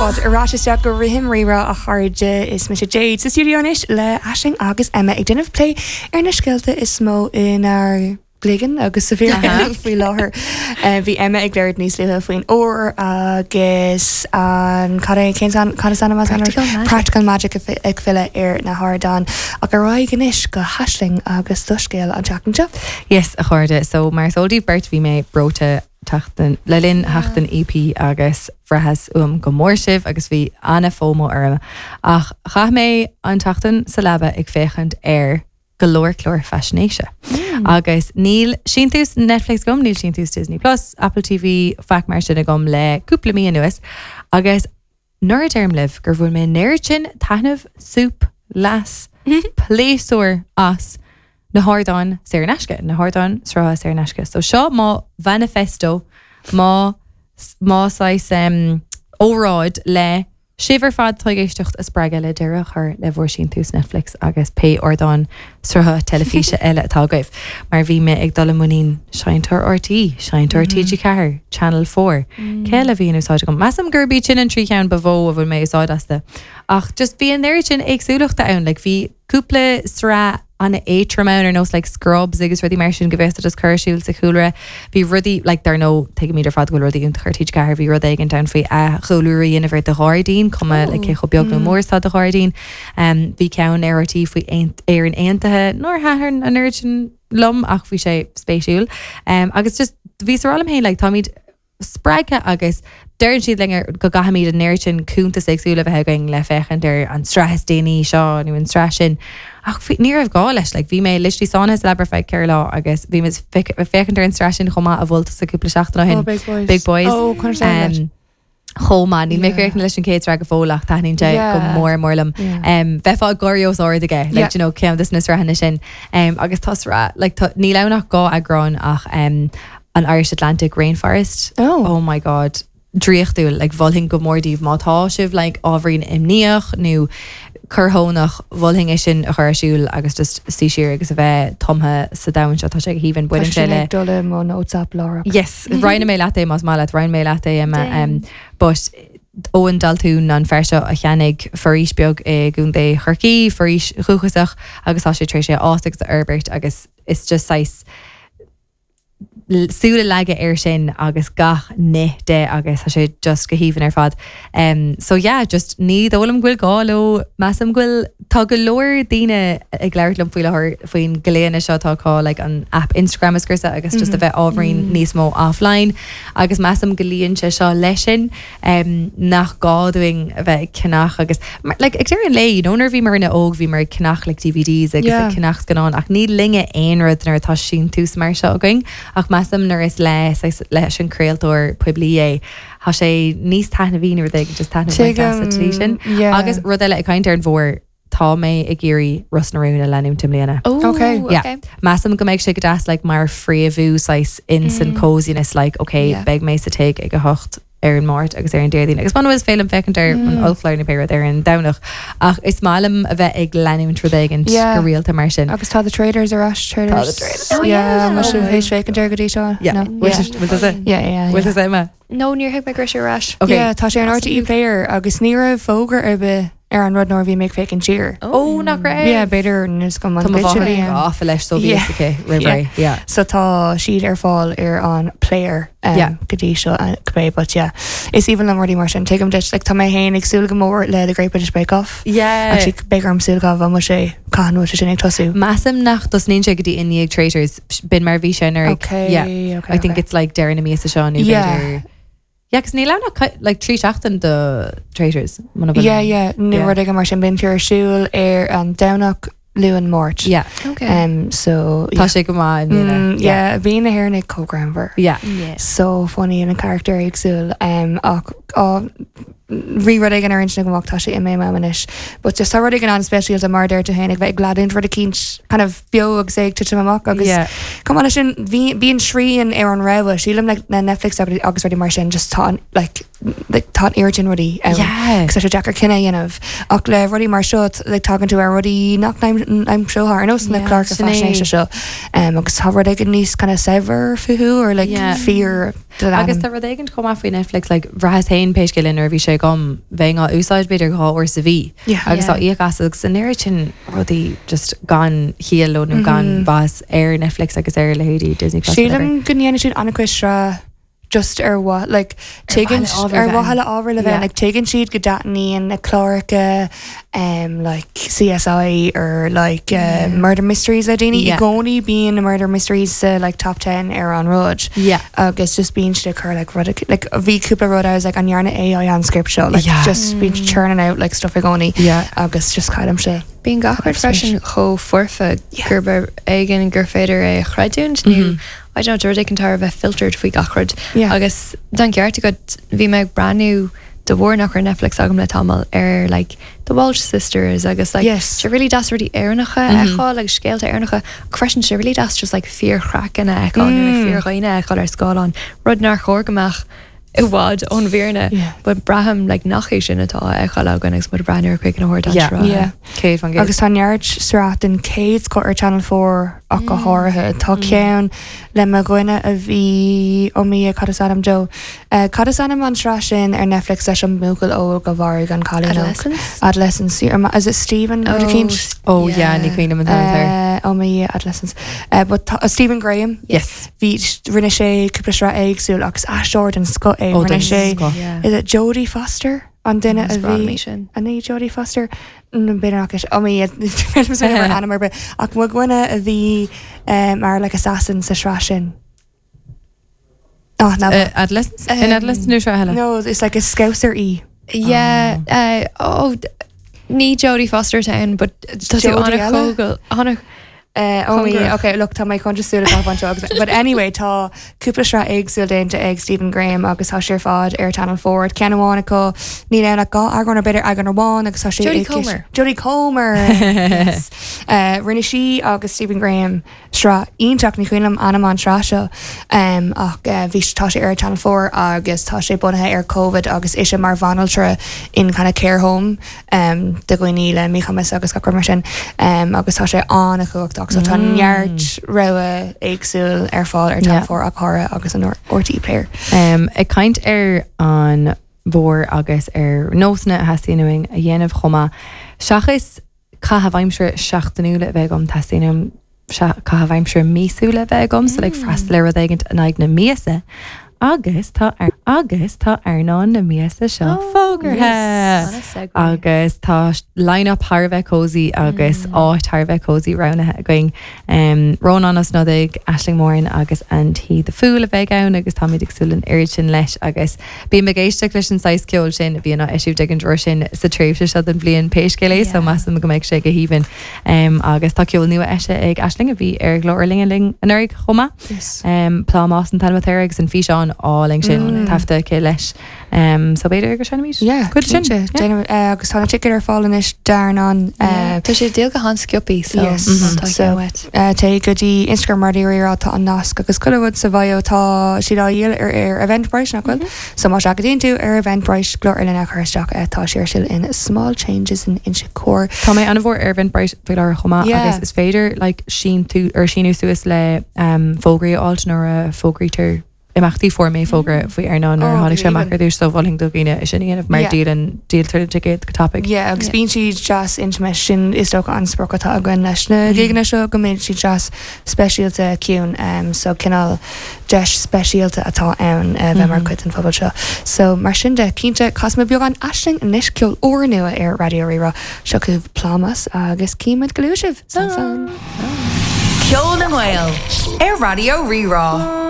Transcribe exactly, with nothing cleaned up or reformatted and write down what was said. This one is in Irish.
Fáilte ar ais isteach go Rithim Rírá a chairde is mise Jade sa studio anois le Aisling agus Emma ag déanamh plé ar na scéalta is mó inár gcloigeann agus sa bhfíor faoi láthair. Eh, Bhí Emma ag labhairt níos luaithe faoin ór agus an cad é cén cad is ainm as an Practical Magic. Practical Magic ag fi- ag filleadh ar na hardáin ach ar aghaidh anois go hAisling agus do scéal an tseachtain seo. Yes, a chairde, so mar is eol daoibh beirt bhí mé breoite tachtain le linn sheachtain EP agus bhraitheas uaim go mór sibh agus bhí an-FOMO orm ach chaith mé an tseachtain sa leaba ag féachaint ar go leor clár faisnéise. Agus níl síntiús Netflix agam, níl síntiús Disney Plus, Apple TV faic mar sin agam le cúpla mí anuas agus nuair a deirim libh gur bhain mé an oiread sin taitneamh súp leas pléasúr as na hardáin saor in aisce, na hardáin srutha saor in aisce. So seo mo manifesto má má sais um, óráid le sibh ar fad atá ag éisteacht a spreagadh le deireadh a chur le bhur síntiús Netflix agus pé ardán srutha teilifíse eile atá agaibh. Mar bhí mé ag dul i muinín Seinnteoir RTÉ, Seinnteoir TG Ceathair, Channel Four. Cé eile a bhí in úsáid agam. Measaim gurb iad sin an trí cheann ba mhó a bhfuil mé úsáid astu. Ach just bhí an oiread sin éagsúlachta ann, like bhí cúpla sraith an-éadrom ann ar nós like Scrubs agus rudaí mar sin go bhféadfá just cur ar siúl sa chúlra. Bhí rudaí like dar ndóigh tuigimid ar fad go bhfuil rudaí iontach ar TG Ceathair, bhí rud éigin ann faoi athchóiriú a dhéanamh ar do ghairdín, cuma like cé chomh beag nó mór is atá do ghairdín. Um, bhí ceann ar RTÉ faoi Aont- Éirinn Aontaithe nár thaitin an oiread sin liom ach bhí sé spéisiúil. Um, agus just bhí sa rálam féin like táimid spreagtha agus deireann siad linn go gcaithfimid an oiread sin cuntas éagsúla a bheith againn le féachaint ar an tsraith is déanaí seo nó an tsraith sin. Ach bhí- ní raibh gá leis, like, bhí mé literally sáinnithe sa leaba feadh ceithre lá agus bhí mé féachaint ar an tsraith sin chomh maith a mhol tusa cúpla seachtain ó shin. Oh, Big Boys. Big Boys. Oh, conas é leis? Um, chomh maith níl mé Yeah. críochnaithe leis an chéad sraith go fóill ach taitníonn sé go Yeah. mór mór liom. Yeah. Um, bheifeá ag gáirí os ard aige, like, Yeah. you know, ceann de na sraitheanna sin. Um, agus tá sraith, like, tá- níl ann ach dhá eagrán ach um, an Irish Atlantic Rainforest. Oh. Oh my god. Draíochtúil, like, mholfainn go mór daoibh má tá sibh like, ábhairín imníoch nó corrthónach mholfainn é sin a chur ar siúl agus just suí siar agus a bheith tumtha sa domhan seo tá sé go haoibhinn baineann sé le dul i mo WhatsApp lára. Yes, roinnfidh mé leat é más maith leat roinnfidh mé leat é Emma um, but Eoin Daltún an fear seo a cheannaigh foraois beag i gContae Chorcaí, foraois dhúchasach agus tá sé tar éis é a fhás agus a fhorbairt agus is just sais súil a leagadh air sin agus gach ní de agus tá sé just go haoibhinn ar fad. Um, so yeah, just ní dóigh liom go bhfuil gá leo measaim go bhfuil tá go leor daoine ag labhairt liom faoi láthair faoin nglaonna seo atá acu like an app Instagram is scriosadh agus just a bheith ábhairín níos mó offline agus measaim go luíonn sé seo leis sin um, nach gá dúinn a bheith ag ceannach agus mar- like, ag deireadh an lae, you know, nuair bhí mar ina óg bhí mar ag ceannach like DVDs agus Yeah. ag ceannach scannán ach ní linne aon rud nuair atá síntiús mar seo againn ach measaim nuair is le saghas- leis an craoltóir poiblí é Tá sé níos taitneamhaí nó rud éigin just taitneamh sa tslí sin. Yeah. Agus rud eile ag caint ar an bhfómhar tá mé ag iarraidh Ros na Rún a leanúint i mbliana. Oh, Okay. Yeah. okay. Measaim go mbeidh sé go deas like, mar phréamhú sais in san coziness like okay Yeah. beidh mé sa tigh ag a hocht ar an Máirt agus ar an Déardaoin agus man is féidir liom féachaint ar an ollchlár nó pé rud ar an Domhnach ach is maith liom a bheith ag leanúint rud éigin Yeah. go rialta mar sin. Agus tá the Traitors ar ais Traitors. Tá The Traitors. Oh, Yeah, yeah. mar sin théis féachaint ar go dtí seo. Yeah. No. Bhfuil Yeah. sé- bhfuil tusa- Yeah, yeah, bhfuil yeah. tusa Emma? No, níor thuig mé go raibh sé ar ais. Okay. Yeah, tá sé an RTÉ player agus ní raibh fógra ar bith ar an rud nuair a bhí mé ag féachaint siar. Ó nach raibh? Yeah, b'fhéidir níos go Tá mo mháthair gafa leis so bhí Yeah. aici roimh Yeah. ré. Yeah. So tá siad ar fáil ar an player um, Yeah. go dtí seo uh, cibé, but yeah. Is aoibhinn liom rudaí mar sin tuigim duit like, tá mé féin ag súil go mór le the Great British Bake Off. Yeah. Actually beidh orm súil go bhfuil sé cahan bhfuil sé sin ag tosú. Measaim nach dtosnaíonn sé go dtí i ndiaidh Traitors b'in mar bhí sé ar Okay, yeah. okay, I think okay. it's like deireadh na míosa seo nó Yeah. b'fhéidir Yeah, cos níl ann ach like trí seachtain do Traitors muna bhfuil- Yeah, yeah, nó Yeah. rud éigin mar sin bíonn ar siúl ar an Domhnach Luan Máirt. Yeah. Okay. Um, so Tá sé go maith i mbliana. Mm, yeah, bhí na hÉireannaigh chomh greannmhar. Yeah. yeah. So funny an character éagsúil um, ach á, bhí rud éigin ar intinn agam ach tá sé imithe uaim anois. But just tá rud éigin an-speisialta mar deir tú féin ag bheith ag leanúint rud eicínt kind of beo agus é ag titim amach agus Yeah. Chomh maith leis sin bhí bíonn srian ar an rogha sílim like, na Netflix agus agus rudaí mar sin just tá an, like like, tá oiread sin rudaí ann. Yeah. Agus tá sé deacair cinneadh a dhéanamh. Ach le rudaí mar seo like, tagann tú ar rudaí nach n-aimseofá ar nós na Yeah, cláracha sin é. faisnéise seo. Um, agus tá rud éigin níos kind of saibhir fúthu or like Yeah. fíor Agus tá rud éigin chomh maith faoi Netflix like bhraitheas féin pé scéal é nuair a bhí sé agam bheinn á úsáid b'fhéidir dhá uair sa mhí. Yeah. Agus Yeah. á íoc as agus an oiread sin rudaí just gan chiall nó gan bhas ar Netflix agus ar leithéidí Disney Plus. whatever. Sílim go ndéanann siad an-chuid sraith just ar mhaith like tuigeann mhaithe le ábhar ar bheith mhaithe le ábhar le bheith Yeah. like tuigeann siad go dtaitníonn na cláracha um, like CSI or like uh, murder mysteries le daoine i Yeah. gcónaí bíonn na murder mysteries uh, like top ten ar an rud. Yeah. agus just bíonn siad ag cur like rud like bhí cúpla rud I was like an ndearna AI an script seo like Yeah. just bíonn churning out like stuff i gcónaí Yeah. agus just caillim sé. Bíonn gach rud freisin chomh foirfe gurb éigean gur féidir é a chreidiúint nó I don't know rud éigin thar a bheith filtered faoi gach rud. Yeah. Agus don ceart go bhí mé ag breathnú de bharr nach raibh Netflix agam le tamall ar like the Walsh sisters agus like Yes. sé really deas rudaí Éireannacha a fheiceáil agus scéalta Éireannacha freisin sé really deas just like fíorchraic a fheiceáil nó like fíordhaoine a fheiceáil ar scáileán rud nár chóir go mbeadh i bhfad ón bhfírinne Yeah. but braithim like nach é sin atá á fheiceáil againn agus muid ag breathnú ar chuig na huair Yeah. Yeah. Céad faoin gcéad. Agus tá neart sraith den chéad scoth ar Channel Four ach go háirithe Tá ceann le mo dhuine a bhí ó mí cad is ainm dó. Uh, Cad is ainm an tsraith sin ar Netflix leis an mbuachaill óg a mharaigh an cailín óg? Adolescence? Adolescence. Is it Stephen Oh, oh, Oh yeah, ní cuimhin liom an t-ainm Uh, ó mí Adolescence. Uh, but tá- uh, Stephen Graham Yes. Bhí rinne sé cúpla sraith éagsúil agus aisteoir den scoth é Oh, rinne den sé scoth. Yeah. Is it Jodie Foster an duine a bhí sin. an é Jodie Foster b'fhéidir ó mí ainm ar bith ach mo dhuine a bhí um, mar like assassin sa sraith sin. Oh, no. Uh, Adolescence? In Um, Adolescence nó sraith eile? no, it's like a scouser í. Yeah, uh, oh, d- ní Jodie Foster town, but tá tú Jodie anna eile? chógal anna Uh, oh, Cóngarach. okay, look, tá mé chun súil agus but anyway tá cúpla sraith éagsúil déanta ag Stephen Graham agus tá sé ar fad ar Channel Four ceann amháin acu níl ann ach dhá eagrán ar b'fhéidir eagrán amháin agus tá sé Jodie ag- Comer. Jodie Comer yes. uh, rinne sí agus Stephen Graham sraith iontach ní cuimhin liom ainm an tsraith seo um, ach uh, bhí tá sé ar Channel Four agus tá sé bunaithe ar COVID agus ise mar bhanaltra in kind of care home um, do dhaoine le míchumas agus gach rud mar sin um, agus tá sé an-chumhachtach so tá neart rogha éagsúil ar fáil ar Channel Yeah. Four ach háirithe agus an RTÉ Player. Um, ag caint ar an mhór agus ar nósanna a theastaíonn uainn a dhéanamh chomh maith. Seachas caitheamh aimsire seachtainiúla a bheith agam teastaíonn uaim caitheamh aimsire míosúla a bheith agam, so like freastal ar rud éigin in aghaidh na míosa. Agus tá ar agus tá Airneán na míosa seo fógartha. Agus tá line-up thar a bheith cozy agus áit thar a bheith cozy roghnaithe againn. Um, Rónán Ó Snodaigh, Aisling Moran agus Anty the Fool a bheidh ann agus táimid ag súil an oiread sin leis agus bím ag éisteacht leis an saghas ceoil sin a bhíonn á eisiúint ag an dtriúr sin sa tréimhse seo den bhliain pé scéal é, so Yeah. measaim go mbeidh sé go haoibhinn. Um, agus tá ceol nua eisithe ag Aisling a bhí ar glór linn linn anuraidh chomh maith. Yes. Um, Plámás an t-ainm atá air agus an físeán álainn sin taifeadta aici leis. Um, so b'fhéidir go seinnfimid Yeah, Cuid sin. cinnte. Déanamh- uh, agus tá na ticéid ar fáil anois d'Airneán uh, Tá sé díol go han-sciobtha so Yes. tá So- wet. Uh, Téigh go dtí Instagram Raidió Rí-Rá tá an nasc agus chuile rud sa bhio tá siad á dhíol ar ar Eventbrite nach bhfuil. So má seachaidíonn tú ar Eventbrite glór linn a chur isteach uh, tá sé ar siúl in Small Changes in Inse Chór. Tá mé an-mhór ar Eventbrite faoi láthair chomh maith Yeah. agus is féidir like, síntú ar síniú suas le um, fógraí a fháil nuair a fógraítear imeachtaí fuair mé fógra faoi Airneán nuair Oh, tháinig sé amach even. ar dtús so mholfainn do dhaoine é sin a dhéanamh mar Yeah. díolann díoltar na ticéid go tapaidh. Yeah, agus Yeah. bíonn siad deas intimate sin is dócha an sprioc atá againn leis na gigeanna seo go mbíonn siad deas speisialta ciúin um, so cineál deis speisialta atá ann uh, bheith mar chuid den phobal seo. So mar sin de cinnte casfaimid beagán Aisling anois ceol úrnua ar Raidió Rí-Rá seo chugaibh Plámás agus címid go luath sibh. Slán. Ceol na nGael ar Raidió Rí-Rá.